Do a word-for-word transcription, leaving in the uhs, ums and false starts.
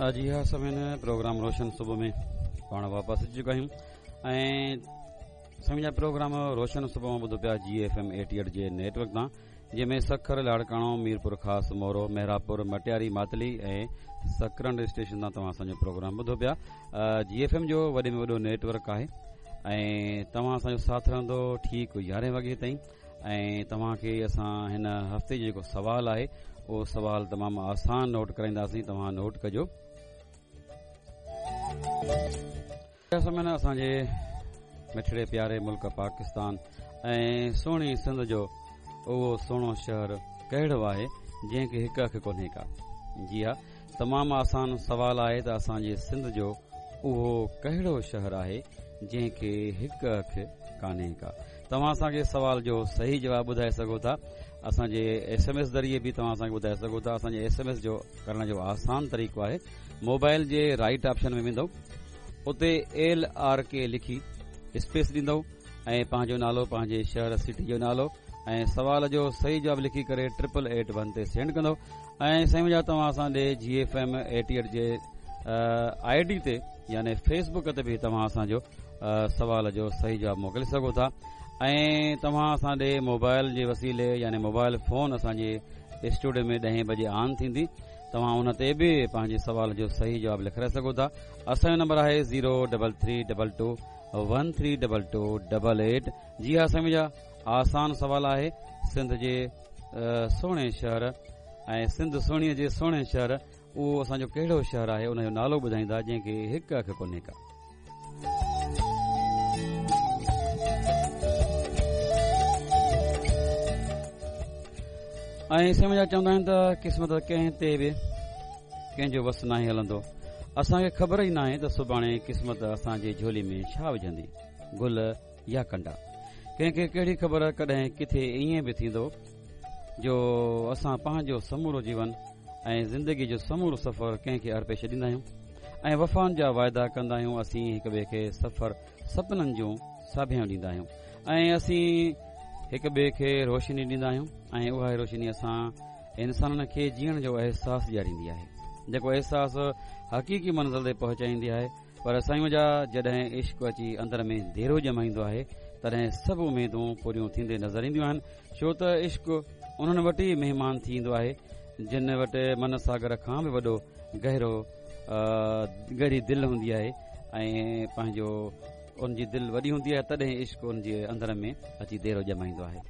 जी हाँ सामीन, प्रोग्राम रोशन सुबह में पाण वापसि अची चुका आहियूं ऐं सामीन जा प्रोग्राम रोशन सुबह मां ॿुधो पिया जी एफ एम एटी एट जे नेटवर्क तां, जंहिंमें सखर, लाड़काणो, मीरपुर ख़ास, मोरो, मेहराबपुर, मटियारी, मातली ऐं सकरंड स्टेशन तां तव्हां असांजो प्रोग्राम ॿुधो पिया। जी एफ एम जो वॾे में वॾो नेटवर्क आहे ऐं तव्हां असांजो साथ रहंदो ठीकु यारहें वॻे ताईं। ऐं तव्हांखे असां हिन हफ़्ते जो जेको सवाल आहे उहो सवाल तमामु आसान नोट कराईंदासीं, तव्हां नोट कजो। असांजे मिठड़े प्यारे मुल्क पाकिस्तान ऐं सुहिणी सिंध जो उहो सुहिणो शहर कहिड़ो आहे जंहिंखे हिकु अखि कोन्हे का? जी हा, तमामु आसान सवाल आहे त असांजे सिंध जो उहो कहिड़ो शहर आहे जंहिंखे हिकु अखि कान्हे का? तव्हां असांखे सवाल जो सही जवाबु ॿुधाए सघो था। असांजे एस एम एस ज़रिए बि तव्हां असांखे ॿुधाए सघो था। असांजे एस एम एस जो करण जो आसान तरीक़ो आहे, मोबाइल जे राइट ऑप्शन में वेंदव, उते एल आर के लिखी स्पेस ॾींदव ऐं पंहिंजो नालो, पंहिंजे शहर सिटी जो नालो ऐं सवाल जो सही जवाबु लिखी करे ट्रिपल एट वन ते सेंड कंदव। ऐं साईं जा तव्हां असां ॾे जी एफ एम एटी एट जे I D ते यानी फेसबुक ते बि तव्हां असांजो सवाल जो सही जवाबु मोकिले सघो था। ऐं तव्हां असां ॾे मोबाइल जे वसीले यानी मोबाइल फ़ोन असांजे स्टूडियो में ॾहें बजे ऑन थींदी, तव्हां उन ते बि पंहिंजे सवाल जो सही जवाबु लिखाए सघो था। असांजो नंबर आहे zero double three double two one three double two double eight. जी हा साईं जा, आसान सवाल आहे। सिंध जे सुहिणे शहर ऐं सिंध सुहिणीअ जे सुहिणे शहर उहो असांजो कहिड़ो शहर आहे उनजो नालो ॿुधाईंदा जंहिंखे हिकु अखि कोन्हे का। ऐं साईं जा चवंदा आहिनि त क़िस्मत कंहिं ते बि कंहिंजो वसु नाहे हलंदो। असांखे ख़बर ई नाहे त सुभाणे क़िस्मत असांजे झोली में छा विझंदी, गुल या कंडा। कंहिंखे कहिड़ी ख़बर कॾहिं किथे ईअं बि थींदो जो असां पंहिंजो समूरो जीवन ऐं ज़िंदगी जो समूरो सफ़र कंहिंखे अर्पे छॾींदा आहियूं ऐं वफ़ाउनि जा वाइदा कंदा आहियूं। असीं हिक ॿिए खे सफ़र सपननि जूं साभियां ॾींदा आहियूं ऐं असीं हिक ॿिए खे रोशनी ॾींदा आहियूं ऐं उहा ई रोशनी असां इंसाननि खे जीअण जो अहसासु ॾियारींदी आहे, जेको अहसासु हक़ीक़ी मंज़िल ते पहुचाईंदी आहे। पर साईं जा जॾहिं इश्क अची अंदर में देरो ॼमाईंदो आहे तॾहिं सभु उमेदूं पूरियूं थींदे नज़र ईंदियूं आहिनि, छो त इश्क उन्हनि वटि ई महिमान थी ईंदो आहे जिन वटि मन सागर खां बि वॾो गहिरो गहरी दिलि हूंदी आहे ऐं पंहिंजो उनजी दिलि वॾी हूंदी आहे, तॾहिं इश्क उनजे अंदर में अची देरो ॼमाईंदो आहे।